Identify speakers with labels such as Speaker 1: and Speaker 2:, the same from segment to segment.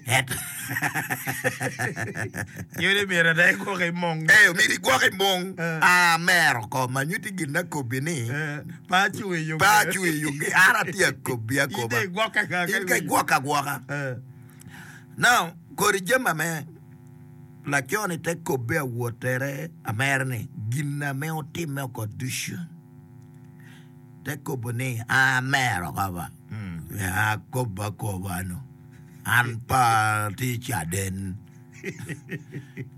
Speaker 1: Ento
Speaker 2: Nyodi myero ada igwoke i mung.
Speaker 1: Ee, myero igwoke i mung.
Speaker 2: Eh.
Speaker 1: A mero ko ma nyutti gin akobbi ni
Speaker 2: Eh, pe acung i
Speaker 1: pe acung i yungi. An atye akobbi
Speaker 2: In
Speaker 1: akoba.
Speaker 2: dong igwokke ka
Speaker 1: In ka igwokke agwoka.
Speaker 2: Eh.
Speaker 1: Now, kodi jami ame laco-ni te kobbe awottere amere ni gin ame otimme oko ducu te kobo ni amero oko ba. Akobo akoba nu. An pe atye caden.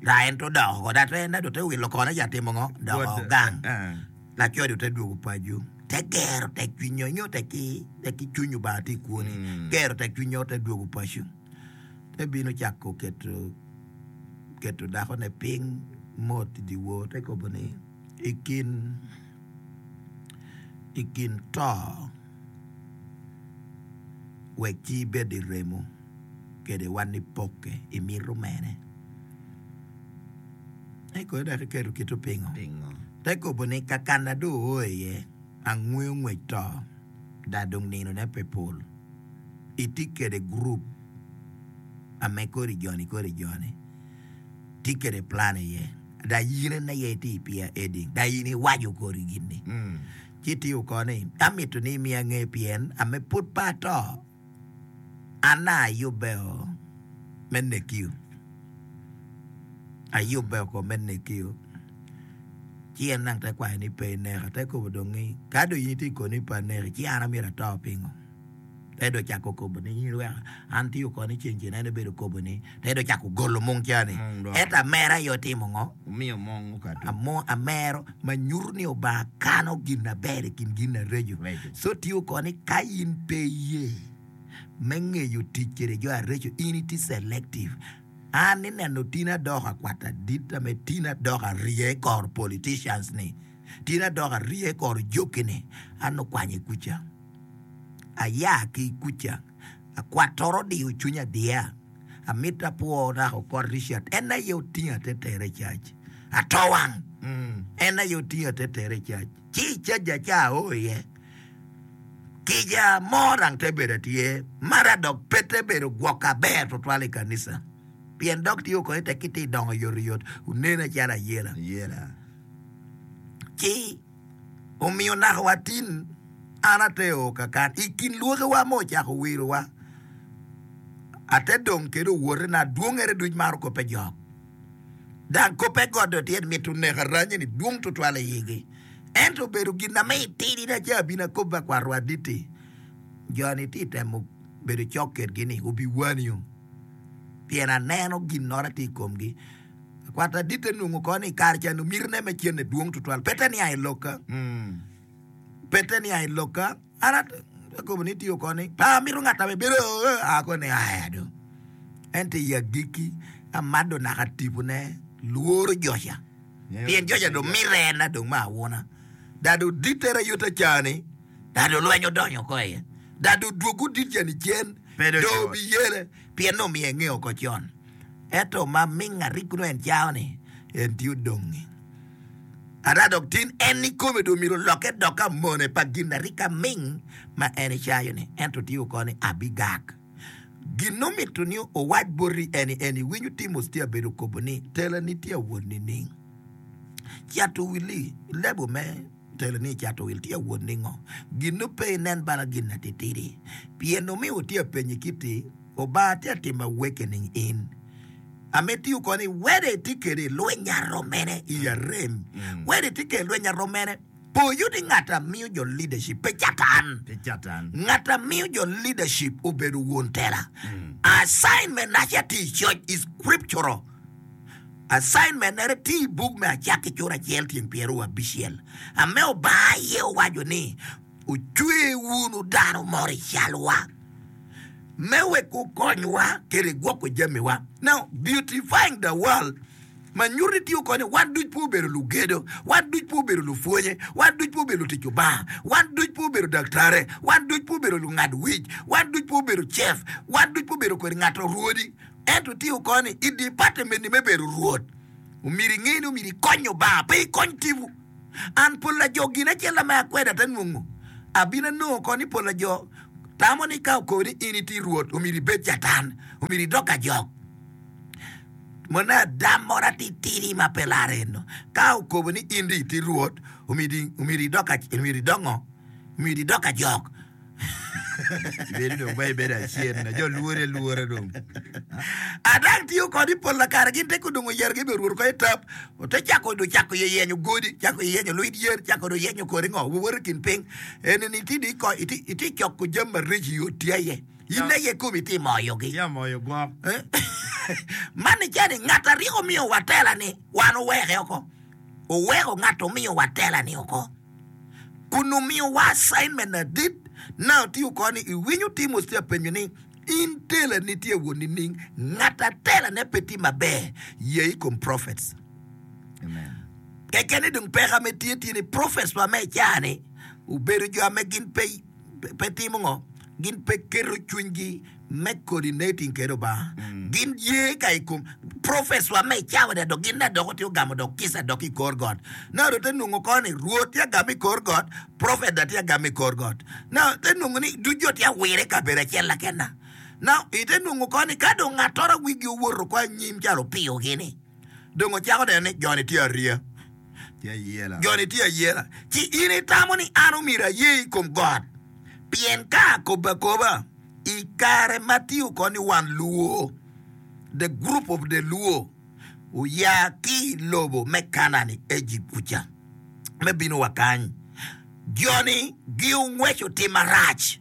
Speaker 1: Dok en te odok oko, dok en dong te wilo kone ca timo ngo? Doko gang. Laco dong te dwogo paco, te gero tekcwinyo nyo tek ki cwiny Lubanga tye i kwoni, gero tekcwinyo te dwogo paco. Te bino cako keto keto dakone piny mot i dyewor te kobo ni i kin i kin to wek ci ibed i remo kede wan nipokke imito mene. Eko dok iketo kito pingo? Te kobo ni kakana dong oo iye angweyo ngwec to da dong ninone pe pol. Itye kede gurup ame kodi joni kodi joni tye kede plan iye da in en aye itye i peer heading da in iwaco kodi gin-ni. Ci tye oko ni, Amito ni imiya nge pien ame pud pe ato, an ayubbe-o me nekio. Ayubbe oko me nekio. Ci en nang te kwayo ni pe ineka. Te kobo dong ni, ka dong in itye koni pe aneki, ci an amyero ato pingo? Te dong ocako kobo ni, in iweka an tye oko ni ceng cen en obedo kobo ni, te dong ocako golo mung ca ni,
Speaker 2: Mung dok.
Speaker 1: ento amera aye otimo ngo?
Speaker 2: Omiyo mung okato.
Speaker 1: Amo amero ma nyuto ni Obanga kano gin aber i kin gin areco.
Speaker 2: Reco.
Speaker 1: So tye oko ni ka in pe iye me ngeyo tic kede jo areco, in itye selective. An ineno tin adoko akwata dit ame tin adoko arye kor politicians ni, tin adoko arye kor joki ni, an okwanye kuca. Aya ki i kuca, akwatoro odiyo cwinya adiya. Amito apwo naka okot Richard, en aye otinga te tere i cac. Ato wang! En aye otinga te tere i cac. Ci i caja ca ao iye, kica mo dang te bedo atye, mara dok pe te bedo gwoka ber twatwal i kanisa. Pien dok tye okonye tek ki tye dongo oyotoyot, onena calo ayela. Ci Omiyo naka wa tin an ate o kakan i kin lwokewa ma ocako wirowa, ate dong kede owotena dwongere duc maro koppe jok, dang koppe godo tyen mito neko aranye-ni dwong twatwal i igi. Ento obedo gin na me itidina ci abino akobbe akwato aditi, jo-ni tye temo bedo cok kedgi-ni obiwanio, pien aneno ginnora tye i komgi. Akwata aditte nongo ko ni i kare ca nongo mitine me cente dwong tutwal. Pe te nia i lokka. Pe te nia i lokka. An akobo ni tiyo ko ni pe amito ngat ame bedo ako ni aya do. Ento i agikki amado naka tipone lworo joca. Pien joca dong mite en na dong me awuna. Dado ditte rayota ca-ni, dado lweny odonyo oko iye. Dado odwogo dit ca-ni cen, dong obiyele pien nongo omiyo enge oko con. Ento ma ming arik nongo en cao ni en tye odongi. Ada dok tin en ikome dong myero olokke dok amone pa gin arik aming ma en ecayo ni. Ento tye oko ni abigak. Gin omito ni owac boti eni en iwinyo Timothy tye abedo kobo ni tela ni tye awot nining? Cato wili lebo me tela ni cato wil tye awot ningo? Gin no pe inen bala gin atitidi pien omiyo tye apenyi kiti Obanga tye atimo awakening in. Amitiyo koni wede itye kede lweny aromene i arem. Wede itye kede lweny aromene. Po yudi ngat amiyo jo leadership pe catan.
Speaker 2: Pe catan.
Speaker 1: Ngat amiyo jo leadership obedo won tela. Assignment naca tye i coc i scriptural. Assignment nere tye i buk me Acakki cura acel tyeng pyeraryo abicel. Ame Obanga aye owaco ni Ocwe wunu dano moro i calwa me wek okonywa kede gwoko jamiwa. Now, beautifying the world ma nyuto ni tye okonyo wan duc pe obedo lugedo, wan duc pe obedo lupwonye, wan duc pe obedo lutic Lubanga, wan duc pe obedo daktare, wan duc pe obedo lungad wic, wan duc pe obedo cef, wan duc pe obedo kodi ngat orwodi. Ento tye okonyo ni i department-ni me bedo rwot, omyero inge ni omyero ikony Lubanga, pe ikony tipo. An pol pa jo gin acel ame akweda ate nongo. Abino anongo oko ni pol pa jo. Tamo ni ka okoni in itye Rwot, omyero ibed Catan, omyero idok ajok. Mone adam moro atitidi ma pe laro eno. Ka okobo ni in dong itye Rwot, omyero idok omyero idok ngo? Omyero idok ajok.
Speaker 2: Ibedo dong ba ibedo acen, jo lwori alwora dong.
Speaker 1: Adang tiyo kodi pol lakare gin te kudongo yero gi be rwot ko etap ote cako do cako ye yenyo godi cako ye yenyo lwit yen cako do yenyo kodi ngo wuwoto i kin piny eni ni ti di ko iti iti coko jami mareco i oti aye in aye komi iti moyogi
Speaker 2: Tye amoyo gwok.
Speaker 1: Eh? Man ni cani ngat a ryeko miyo wa tela ni wan oweke oko oweko ngat omiyo wa tela ni oko kun omiyo wa assignment adit na otiyo ko ni iwinyo Timothy tye apenyo ni In telani tye wot nining? Ngat a telane pe tye maber, ye i kom prophets. Keken ni dong peko ame tye tye ni prophets wa me i caa-ni obedo jo ame gin pe pe timo ngo? Gin pe keto cwinygi me coordinating kede Lubanga. Gin ye ka i kom prophets wa me i cawa-ni dok gin dok tye ogamo dok kica dok i kor got. Now dong te nongo ko ni Rwot tye agamo i kor got, prophet dok tye agamo i kor got. Now ite nongo ni duc jo tye awire i kabedo acel lakena. Now ite nongo ko ni ka dong ngattoro wigi owoto oko anyim calo opiyo gini, dong ocako neno ni joni tye ariya. Joni tye ayela. Ci in itamo ni an omyero aye i kom got? Pien ka akobo akoba i kare ma tye oko ni wan Luo, the group of the Luo, oya ki i lobo me Kanaan i Ejipt kuca me bino wa kany. Jo-ni giongweco tim marac,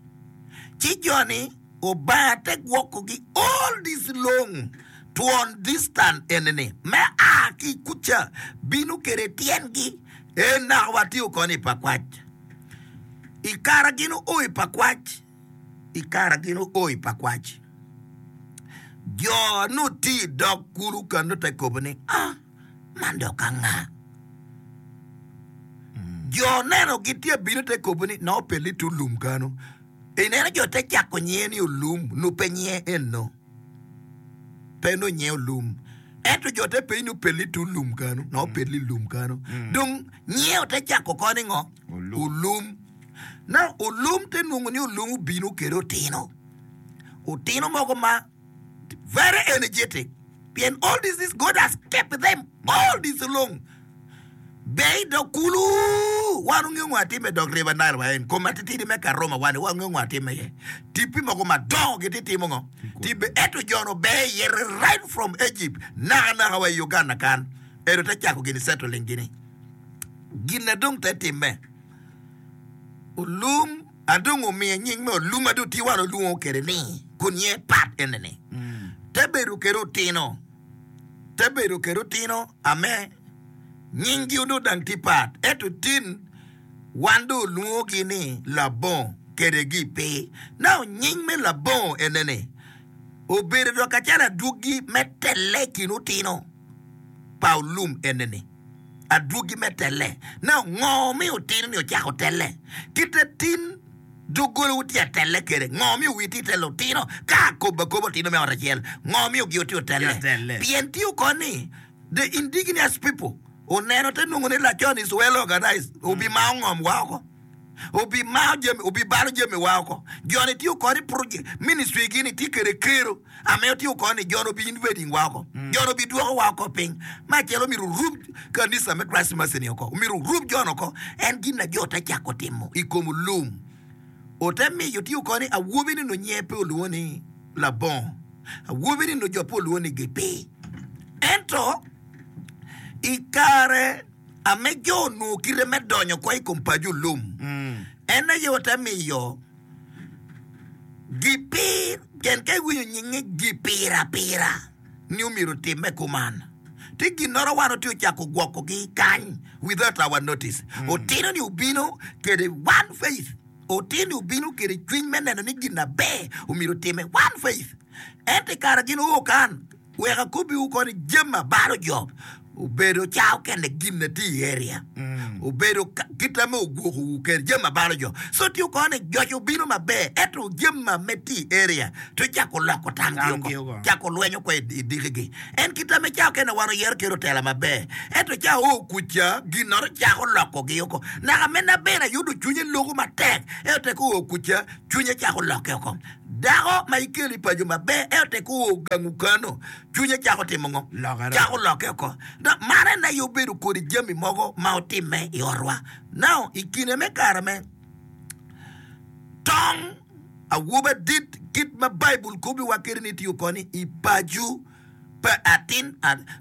Speaker 1: ci jo-ni Obanga te gwokogi all this long twon distant eni-ni me a ki kuca bino kede tyengi en naka watye koni i Pakwach. I kara gin oo i Pakwach, i kara gin oo i Pakwach, jo nongo tye i dog kulu ka nongo te kobo ni, Ah, man dok anga? Jo neno gitye bino te kobo ni, Nongo pelli tye olum kano. Ineno jo te cako nyinge ni olum, nongo pe nyinge eno. Pe nongo nyinge olum. Ento jo te penyo ni opelli tye olum kano, nongo opelli lum kano. Dong nyinge ote cako ko ni ngo? Olum. Na olum te nongo ni olum obino kede otino. Otino mogo ma very energetic. Pien all this is God has kept them all this long. Ber i dog kulu, wan ongeyo ngo atime i dog River Nile wa en kom atitidi me Karuma wani wan ongeyo ngo atime iye. Tipi mogo madongo gitye timo ngo? Tibe ento jono ber iye right from Egypt naka naka wa i Uganda kan. Eno te cako gini settling gini. Gin na dong te timme. Olum adong omiye nying me olum adong tye wan olwongo kede ni kun nyinge pat ene ni. Te bedo kede otino. Te bedo kede otino ame nyinggi onongo dang tye pat ento tin wan dong olwongogi ni labongo kede gi pe. Now nying me labongo ene ni obedo dok kacalo adwogi me telle i kin otino pa olum ene ni. Adwogi me telle. Now ngo mi otino ni ocako telle? Kite tin Doggolawu tye atelle kwede. Ngo miyo wi tye telo otino? Ka akobo akoba otino me ot acel, ngo miyo gi otye otelle? Pien tye oko ni the indigenous people oneno te nongo ni lacon is well organized, obimao ngom wa oko, obimao jami, obibalo jami wa oko. Joni tye oko ni project, ministry gi ni tye kwede kero ame tye oko ni joni obi invading wa oko, joni obi dwoko wa oko piny. Me acel omyero orub kanisa me Christ Mercy ni oko, omyero orub jon oko. En gin na jo te cako timo i kom olum. Ote miyo tye oko ni awobi ni nongo nyinge pe olwongo ni labongo, awobi ni nongo jo pe olwongo ni gipi. Ento i kare ame jo onongo kite me donyo oko i kom paco olum, en aye ote miyo gipir, pien ka iwinyo nyinge gipir apira ni omyero otimme kuman. Tye ginnoro wan otye ocako gwokogi kany without our notice. Otino ni obino kede one faith. Otino obino kede cwiny me neno ni gin aber omyero otime one faith. Ento i kare gin oo kan, wek akobbiwu koni jami abalo jo obedo ca okene gin na tye i area. Obedo kit ame ogwokowu kede jami ma balo jo. So tye oko ni joc obino maber ento jami ma me tye i area to cako loko tamgi oko, cako lweny oko i dikigi. En kit ame ca okene wan oyero kede otela maber ento ca oo kuca ginnoro cako lokogi oko. Naka me nabene ayudo cwinye loko matek ento tek oo kuca cwinye cako lokke oko. Dako ma ikelo i paco maber ento tek oo gangu kano cwinye cako timo ngo? Cako lokke oko. Dok man en aye obedo kodi jami mogo ma otimme i otwa. Now, i kine me kare me tong awobi adit, kit ma Baibul kobiwa kwede ni tiyo koni i paco pa atin,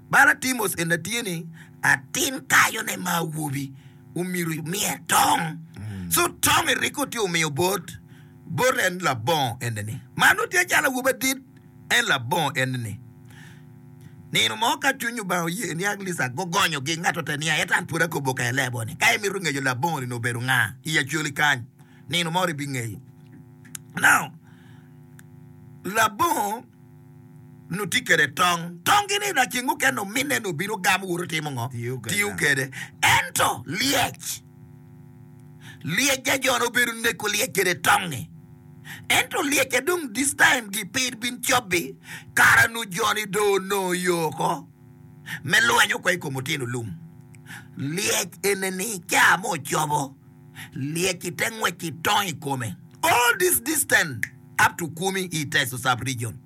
Speaker 1: bala Timos eni tye ni atin kayone ma awobi omyero omiye tong. So tong Eriko tye omiyo bot bot en labongo eni-ni. Man nongo tye calo awobi adit. En labongo enni. Nino mo ka cwiny Lubanga oye ni Aglisa gugonyogi, ngat ote niya, Ento an pud akobo ka ilebo ni, ka imito ngeyo labongo-ni obedo nga i Acholi kany, nino mo ibingeyo. Now, labongo nongo tye kwede tong. Tonggi-ni laceng mukene ominne nongo bino gamo woto timo ngo? Tiyo kwede. Ento lyec, lyec ja jo-ni obedo neko lyec kwede tong-ngi. Ento lyecce dong this time gi pe bin cobbi kara nu joni dong onongo yo oko me lweny oko i kom otino lum. Lyec ene ni ca mo ocobo lyec ite ngwec i tong i kome all this distance up to Kumi i Teso sub region.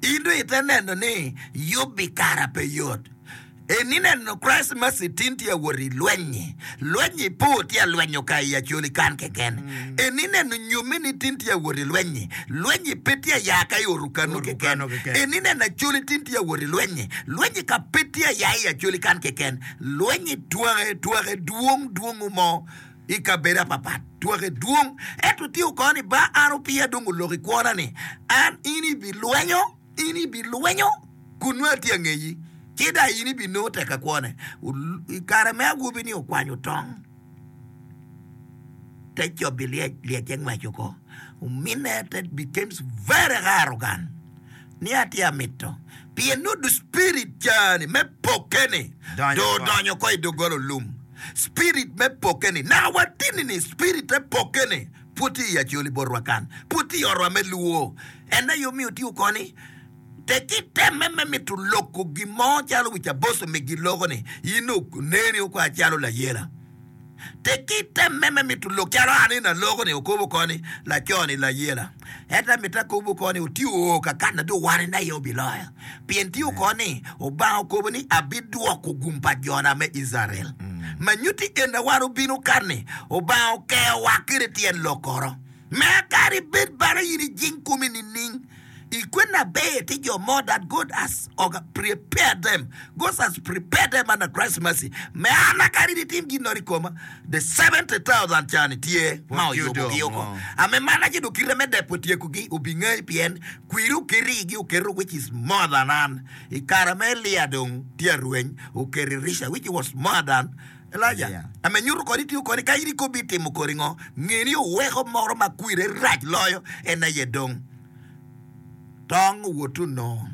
Speaker 1: In dong ite neno ni yubbi kara pe yot. En ineno Christ Mercy tin tye awot i lweny-nyi. Lweny-nyi pe otye alwenyo ka i Acholi kan keken. En ineno nyomme ni tin tye awot i lweny-nyi. Lweny-nyi pe tye aya ka i Orukanu keken. En ineno Acholi tin tye awot i lweny-nyi. Lweny-nyi ka pe tye aya i Acholi kan keken. Lweny-nyi twake twake dwong dwongo mo i kabedo apapat. Twake dwong. Ento tye okone ni ba an opiya dong oloko i kwona ni an in ibilwenyo. In ibilwenyo kun nongo atye angeyi, ci dong in ibinongo tekka kwone. I kare me awobi-ni okwanyo tong, te cobi lyec, lyecce ngwec oko. Ominne te becomes very arrogant ni atye amito pien nongo do spirit ca-ni me pokke-ni dong odonyo oko i doggola olum. Spirit me pokke-ni naka watini-ni spirit me pokke-ni pud tye i Acholi botwa kan, pud tye i otwa me Luo. En aye omiyo tye okoni, Tek itemme me mito loko gin mo calo wic aboso megi loko-ni, in oneni okwa calo layela. Tek itemme me mito lok calo an eni aloko-ni, okobo okoni, laco-ni layela. Ento amito akob okoni, otye oo kakan na dong wan en aye obiloyo. Pien tye okoni, Obanga okobo ni, Abidwoko gum pa jona me Icrael. Ma nyutti en wan obino kan-ni, Obanga okeyowa kede tyen lokoro. Me kadi bed bana in ijing komi nining, i kwena aber ti jo mo that God has prepared them, God has prepared them under Christ's mercy. Me an kadi nitim gin nongo i koma, the 70,000 ca-ni tye ma oyubogi oko. Ame man aye dong kite me depo tyekogi obingeyi pien kwiri oketo igi oketo which is more than an. I kare ma Elia dong tye arweny oketo Elisha which was more than Elijah, ame nyuto kodi tiyo kodi ka in ikobi itimo kodi ngo, nge ni oweko moro ma kwire rac loyo en aye dong tong owot onongo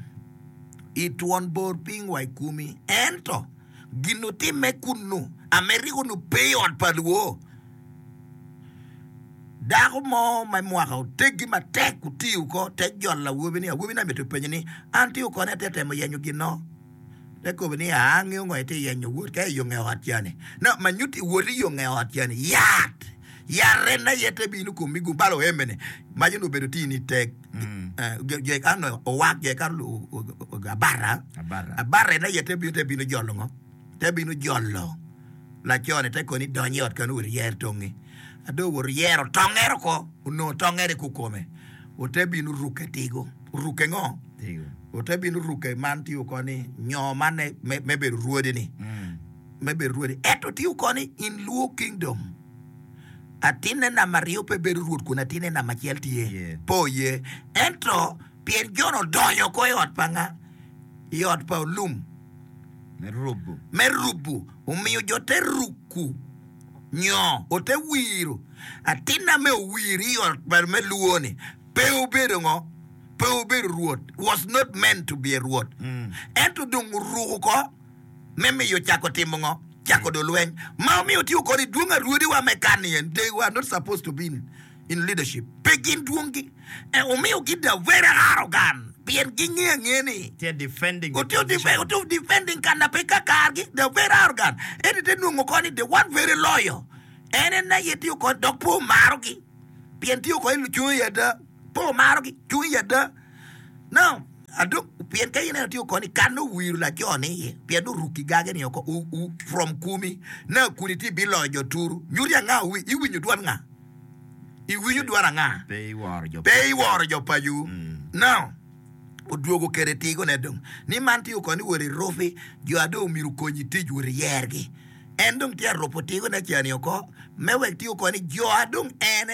Speaker 1: i twon bor piny wa i komi. Ento gin otimme kunnu, ame rik onongo pe i ot pa luo. Dako mo me mwaka oteggi matek otiyo ko te jolo awobi-ni. Awobi-ni amito penye ni, An tiyo koni atye temo yenyo ginno? Te kobo ni, Aa, angeyo ngo itye yenyo, wot ka i yo nge ot cani. No, ma nyutti wot i yo nge ot cani, yat! Yat en aye te bino komi gum balo oembe-ni. Maco ni obedo tye ni tek. Jo kan owak, jo kan abara. Abara en aye te bino te bino jolo ngo? Te bino jolo laco-ni te koni dony i ot kanu wot iyer tongi. Ado owot oyero tongere oko, onongo tongere kukome. Ote bino rukke tigo. Rukke ngo? Ote bino rukke man tye oko ni nyo man me bedo rwodi ni me bedo rwodi. Ento tye oko ni in Luo Kingdom atinne namba aryo pe bedo rwot kun atinne namba acel tye pe oye. Ento pien Jon odonyo oko i ot pa nga? I ot pa olum me rubu omiyo jo te ruku nyo ote wiro atinna me owir i ot me Luo ni Pe obedo ngo? Pe obedo Rwot. Was not meant to be a Rwot. Ento dong oruko ko me miyo cako timo ngo? Cako do lweny ma omiyo tiyo kodi dwong arwodiwa me kan-ni en they were not supposed to be in, in leadership. Pe gin dwonggi. E omiyo gi they are very arrogant pien gingeyo angeya ni
Speaker 2: Tye defending the
Speaker 1: Otiyo
Speaker 2: position.
Speaker 1: defe, otiyo defending kan na pe kakargi. They are very arrogant. Ento ite nongo koni the one very loyal en en aye tiyo kodi dok pe omarogi pien tiyo kodi lucung i ada pe omarogi cung i ada. Now, Adong pien ka ineno tye oko ni kan owiro laco ni iye pien oruki gage ni oko u, u, from kumi na kuni ti biloyo jo turu nyuti anga wi iwinyo dwan nga iwinyo dwan anga
Speaker 2: Pe iworo jo
Speaker 1: pe iworo jo pacu now odwogo kede tigo ne dong ni man tye oko ni wot irupi jo adong omyero okonyi tic wot iyergi en dong tye arupo tigo ne cani oko me wek tye oko ni jo adong en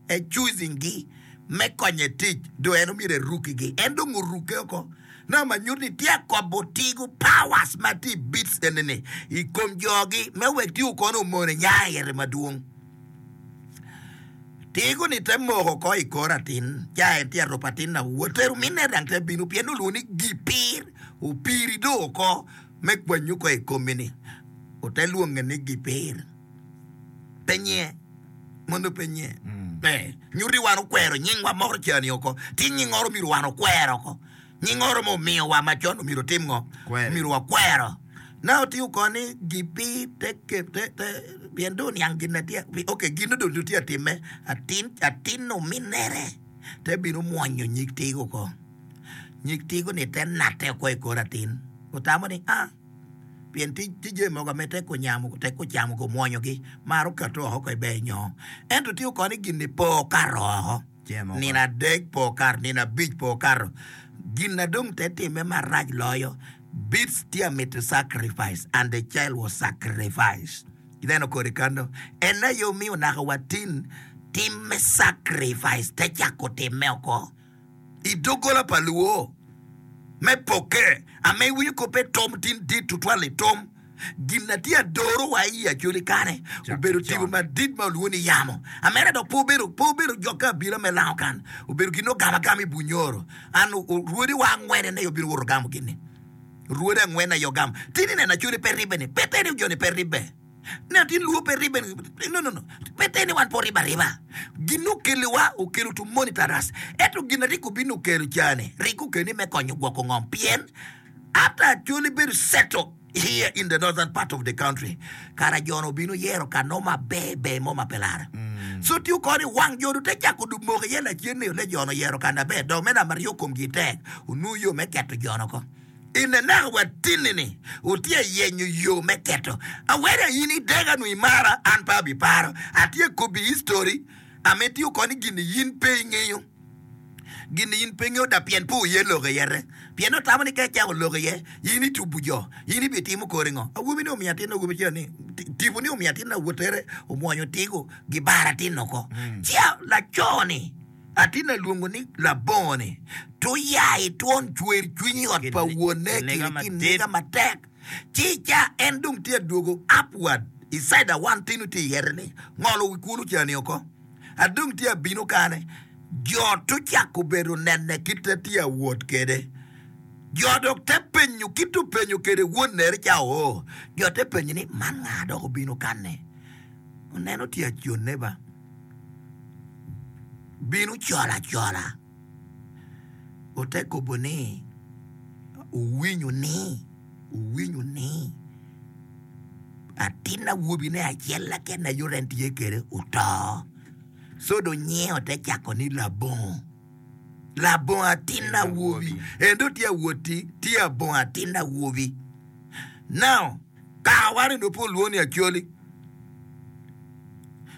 Speaker 1: e choosing gi me konye tic, do en omyero erukigi. En dong orukke oko. Na ma nyuto ni tye akobo tigo powers ma tye i beats eni-ni i kom jogi me wek tigo kono omone nya ite madwong. Tigo ni te moko oko i kor atin, ca en tye arupo atin na wotero minne dang te bino pien olwongo ni gipir, opiri do oko me kwanyi oko i komi-ni. Ote lwonge ni gipir. Pe nye. Mono pe nye. Pe. Nyuti wan okwero nyingwa moko cani oko. Ti nyingoro myero wan okwer oko. Nyingoro mo omiyowa macon omyero otim ngo?
Speaker 2: Kwere.
Speaker 1: Myero wakwero. Na otiyo ko ni gipi te ke te te pien do niang gin na tye ok gin do do tye atime atin atin ominere te bino mwonyo nyig tigo oko. Nyig tigo ni te nate oko i kor atin. Otamo ni ah Pien tye jami mogo ma tek onyamo, tek ocamo ki omwonyogi, maro kato oko ka iber nyo. Ento tye okone gin-ni pe okato oko. Nino adek pe okato, nino abic pe okato. Gin na dong te timme marac loyo, beads tye a mito sacrifice and the child was sacrificed. Ineno kodi kano? En aye omiyo naka wa tin tim me sacrifice te cako timme oko. I doggola pa luo me pokke, ame iwinyo koppe tom tin dit tutwal i tom. Gin na tye adoro wa i Acholi kane obedo tipo madit ma olwongo ni yamo. Amera dok pe obedo pe obedo jokke abila me lango kan. Obedo gin ogamo agama i Bunyoro. An rwodi wa angwen aye obino woto gamo gin ni. Rwodi angwen aye ogamo. Tin ineno Acholi pe ribbe ni. Pe te ni jo ni pe ribbe. Ne tin luo pe ribbe no no no pe te ni wan pe oribbe ariba. Gin okeliwa okelo to monitor us. Ento gin a rik obino okelo cani rik okelo ni me konyo gwoko ngom pien after Acholi bedo settle here in the northern part of the country kara jono obino yero ka no maber ber mo ma pe lara. So tiyo koni wang jono te cako dub moko iye lacen ni ole jono oyero ka na ber dok me namba aryo komgi tek onongo yo me keto jono ko. I nenaka wa tinni ni wutye a yenyo yo me keto awene in idega nwo imara an pe abiparo. Atye kobbi history ame itiyo koni gin-ni yin pe ingeyo. Gin-ni in pe ingeyo da pien pe wuye lok iyete. Pien otamo ni ka icako lok iye in itubu jo in ibitimo kori ngo. Awobi ni omiyo atin awobi cel ni tipo ni omiyo atin awotere omwonyo tigo gibaro atin oko. Ci laco ni Atin alwongo ni labongo-ni, to ya itwon cwer cwiny i ot pa wonne kiri kiniga matek. Ci ca en dong tye adwogo upward i side a wan tino tye iyete ni, ngolo wi kulu cani oko. Adong tye abino kane, jo to cako bedo nene kite tye awot kede. Jo dok te penyo kit openyo kede wonnere ca oo. Jo te penyo ni, man nga dok obino kane? Oneno tye aconne ba. Bino col acola, ote kobo ni, Wuwinyo ni, wuwinyo ni atin awobine acel keken aye en tye kwede oto. Co dong nyinge ote cako ni Labongo. Labongo atin awobi. En dong tye awoti, tye abongo atin awobi. Now, kaka wan eni pe olwongo ni Acholi.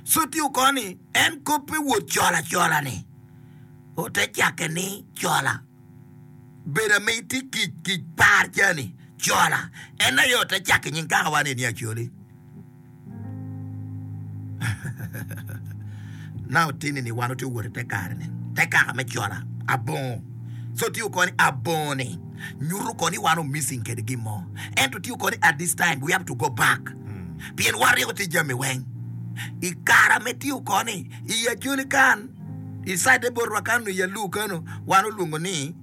Speaker 1: Co tye oko ni en koppe wot cola cola ni ote cake ni cola bedo ame itye kic kic par cani cola en aye ote cake nying kaka wan eni Acholi. Now tini ni wan otye wot i te kare ni te kaka me cola abongo so tye oko ni abongo ni nyuto ko ni wan o missing kede gin mo ento tye oko ni at this time we have to go back pien wan ryeko tye jami weng i kara me tye oko ni i Acholi kan i side botwa kanu i Alur kanu wan olwongo ni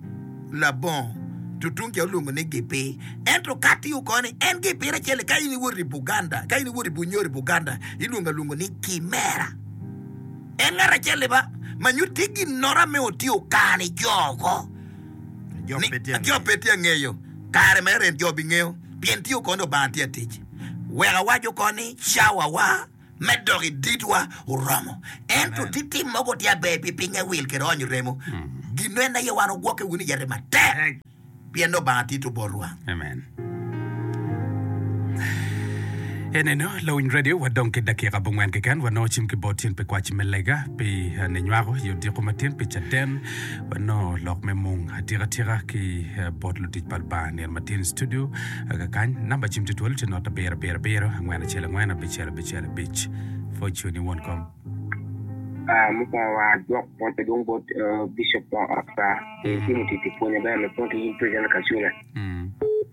Speaker 1: labongo. To tung ca olwongo ni Gipir. Ento ka tiyo koni, en Gipir acel-li ka in iwoto i Buganda, ka in iwoto i Bunyoro i Buganda, ilwongo alwongo ni Kimera. En ngat acel-li ba, ma nyutti ginnoro ame otye okano i jo oko.
Speaker 2: Jo
Speaker 1: Ni,
Speaker 2: pe tye
Speaker 1: jo
Speaker 2: angeyo.
Speaker 1: pe tye angeyo. Kare mere en jo bingeyo, pien tiyo koni Lubanga tye atic. Wek awac oko ni cawawa me dok i ditwa oromo. Ento
Speaker 2: Amen.
Speaker 1: ti tim mogo tye aber pi pinye wil kede onyo remo. Gin en aye wan ogwokke wunu iyete matek,
Speaker 2: Tek.
Speaker 1: pien Lubanga tito botwa.
Speaker 3: Amen. Eneno, lawiny radio, wadong ki dakika abongwen keken. Wanongo cim ki bot tyen pi kwac me lega, pi eh, ninywako i odiko matin, pi caden. Wanongo lok me mung atika tika ki eh, bot lutic pa Lubanga nino matin i studio eh, kakany. Namba cim tye twolo tye not abiro abiro abiro angwen acel angwen abicel abicel abic. Pwoc ni won kom.
Speaker 4: Ah, mukwongo wa adwok pwoc madwong bot eh, Bishop pa ot pa pi timo tic pi pwony maber me pwony ki in President Kacule.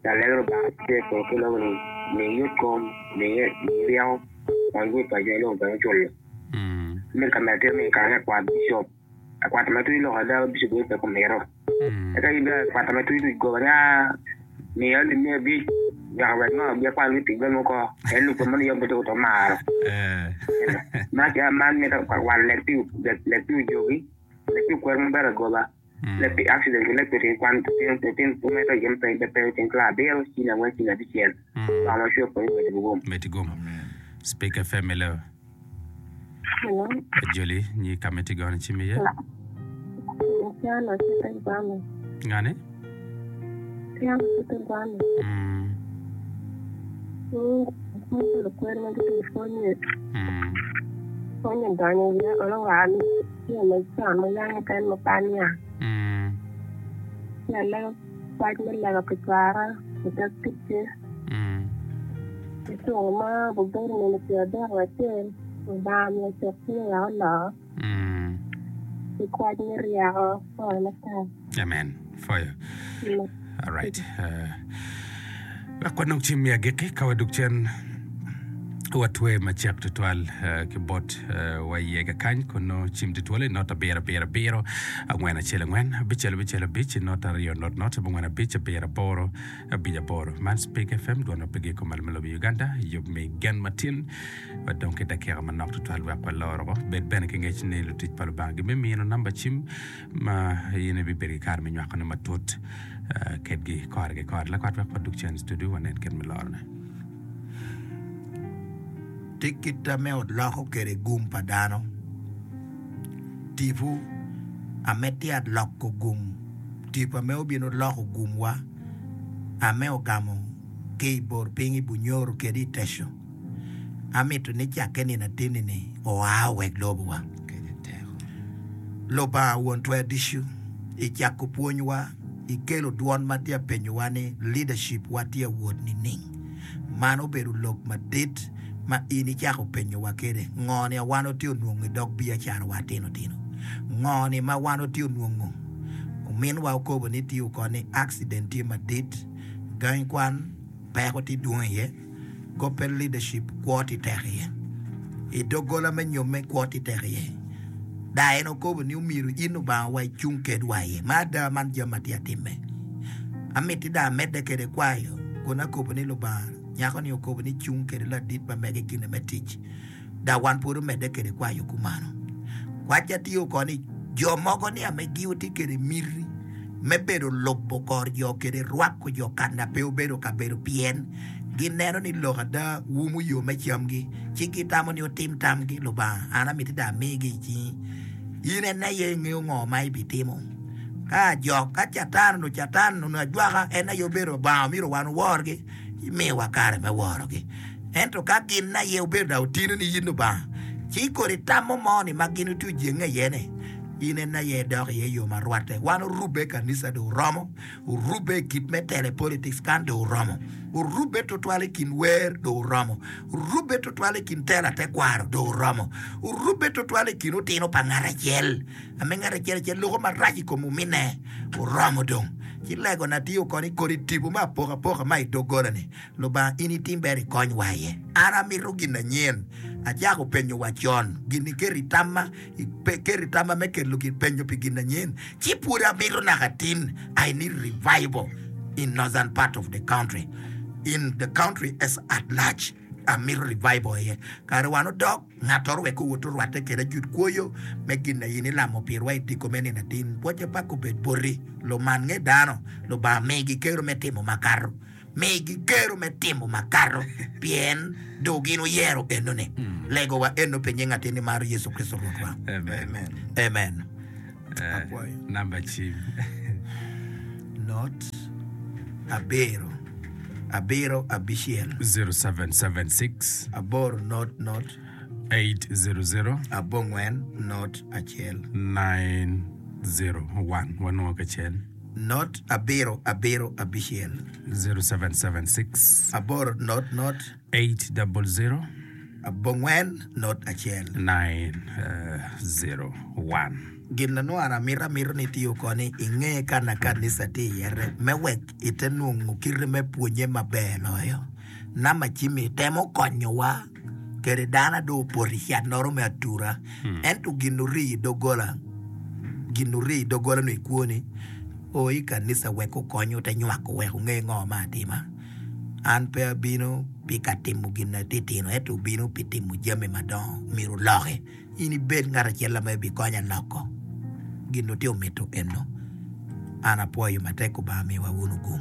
Speaker 4: Alego Lubanga tye i polo ki lobo ni mi yot kom, mi ryeko, kony gum pa jo lobo bene oculo. Medo ka medo tye ni kare me akwat bicop, akwat ma tye lok ada bicop bedo pe kumito. Eka in bene akwata ma tye duc goba ni aa miya alip 500 nyaka wek ngo bi akwat wi tic bene oko en lub pa moni yom pe to maro. Ma man mito wan lek pi ojogi, lek pi okwer maber agoba. Leb pi accident ki leb pi ring kwan litino me to yen pe pe tyen klas abiro cini angwen cini abicel Lubanga ma cwe pwonyo medi gum.
Speaker 3: Medi gum. Speak FM hello.
Speaker 5: Hello.
Speaker 3: Ajoli nyi ka ma itye gono cim iye.
Speaker 5: Tiana cito i Gwame.
Speaker 3: Ngani?
Speaker 5: Tiana cito i Gwame.
Speaker 3: Mm.
Speaker 5: Mm, pwonyo lukwer ma gitye i pwonye.
Speaker 3: Mm.
Speaker 5: Pwonye donyo iye olo wa Tye me con ma yam oken ma pe aniang. Ci alego kwac me lega pi cwara i dog ticce. I tuko ma obedo nino pyeradek wiye acel, Lubanga omiyo cuk cwinye wek oloo ki kwac me ryeko pwoyo matek.
Speaker 3: Amen. Pwoyo. All right. Uh, wek wanong cim me agikki ka wadug cen watwe macek tutwal uh, ki bot uh, wa iye kakany kun nongo cim tye twolo i not abiro abiro abiro angwen acel angwen abicel abicel abic not aryo not not abongwen abic abiro aboro abic aboro man Speak FM dwon ma pe giko malo me lobo Uganda yub me gen matin wadong ki dakika manok tutwal wek walor oko bed bene ki ngec ni lutic pa Lubanga gibimino namba cim ma in ibibedo ki kare me nywakone matut kedgi kore ki kore. Lakwat wek wadug cen i studio wanen kit me lorone.
Speaker 1: Ti kit ame oloko kwede gum pa dano. Tipo ame tye aloko gum, tipo ame obino loko gumwa ame ogamo ki i bor piny i Bunyoro kede i Teco. Amito ni cakke nino atinni-ni oa owek lobowa. Lubanga Won Twer Ducu, i cako pwonywa, ikelo dwon ma tye ka penyowa ni leadership wa tye ka wot nining? Man obedo lok madit ma in icako penyowa kede. Ngo ni wan watye onwongo i dog biacarawa tino tino? Ngo ni ma wan watye onwongo? Ominwa okobo ni tye oko ni accident tye madit, gangi kwan peko tye dwong iye. Gospel leadership kwo tye tek iye. I doggola me nyomme kwo tye tek iye. Daa en okobo ni omyero in Lubanga wa icung kedwa iye. Ma ada man jami ma tye atimme. Amiti daa amedde kede kwayo kun akobo ni Lubanga nyako ni okobo ni cung kede ladit ma mege kine me tic. Dok wan pud omedde kwede kwayo kumano. Kwacca tye oko ni jo mogo ni ame giwu tye kwede miti me bedo lubo kor jo kede rwako jo kanda pe obedo kabedo pien gineno ni lok ada wumo yo me camgi ci gitamo ni otim tamgi Lubanga an amiti dong amigi i cingi in en aye ingeyo ngo ma ibitimo ka ajok ka catan onongo catan onongo ajwaka en aye obedo Lubanga myero wan oworgi ci miyowa kare me worogi. Ento ka gin aye obedo dok otino ni in Lubanga, ci kodi tammo mo ni ma gin otye ojenge iye-ni, in en aye idok iye i yo ma rwatte. Wan orubbe i kanisa dong oromo, orubbe i kit me telo i politics kan dong oromo, orubbe tutwal i kin wer dong oromo, orubbe tutwal i kin tela tekwaro dong oromo, orubbe tutwal i kin otino pa ngat acel. Ame ngat acel acel loko marac i kom ominne oromo dong. Ci legona tye oko ni kodi tipo me apokapoka ma i doggola-ni, Lubanga in itim ber ikonywa iye. An amito gin anyen. Acako penyo wa con gin iketo i tamma, iketo i tamma me kelo gin penyo pi gin anyen. Ci pwod amito naka tin. I need revival. In northern part of the country, in the country as at large, amito revival aye. Kare wan odok, ngattoro wek owot orwatte kede ajut kwoyo me gin na in ilamo pirwa i diko me nino atin. Pwocce pak obed boti, luman nge dano, Lubanga migi kero me timo makato. Migi kero me timo makato, pien do gin oyero enoni. Legowa eno pi nying atin ni maro Yecu Kricito Rwotwa.
Speaker 3: Amen.
Speaker 1: Amen.
Speaker 3: Eh,
Speaker 1: Apwoyo.
Speaker 3: namba cim.
Speaker 1: Not abiro abiro abicel.
Speaker 3: 0776
Speaker 1: Aboro not not
Speaker 3: 800
Speaker 1: abongwen not acel.
Speaker 3: 901 wanongo kacel.
Speaker 1: Not abiro abiro abicel.
Speaker 3: 0776
Speaker 1: Aboro not not
Speaker 3: 800
Speaker 1: Abongwen not acel.
Speaker 3: 901.
Speaker 1: Gin na nongo an amito amito ni itiyo oko ni inge ka na kanisa tye iye me wek ite nongo kite me pwonye maber loyo. Namba cim-mi temo konyowa kede dano dong opoto i cat-noro me atura ento gin ori i doggola gin ori i doggola nongo i kwoni o i kanisa wek okony ote nywako wek onge ngo me atima. An pe abino pi ka timo gin atitino, ento obino pi timo jami madongo. Myero oloki. In ibed ngat acel ma ibikonya loko gin otye omito eno. An apwoyo matek Lubanga miwa wunu gum.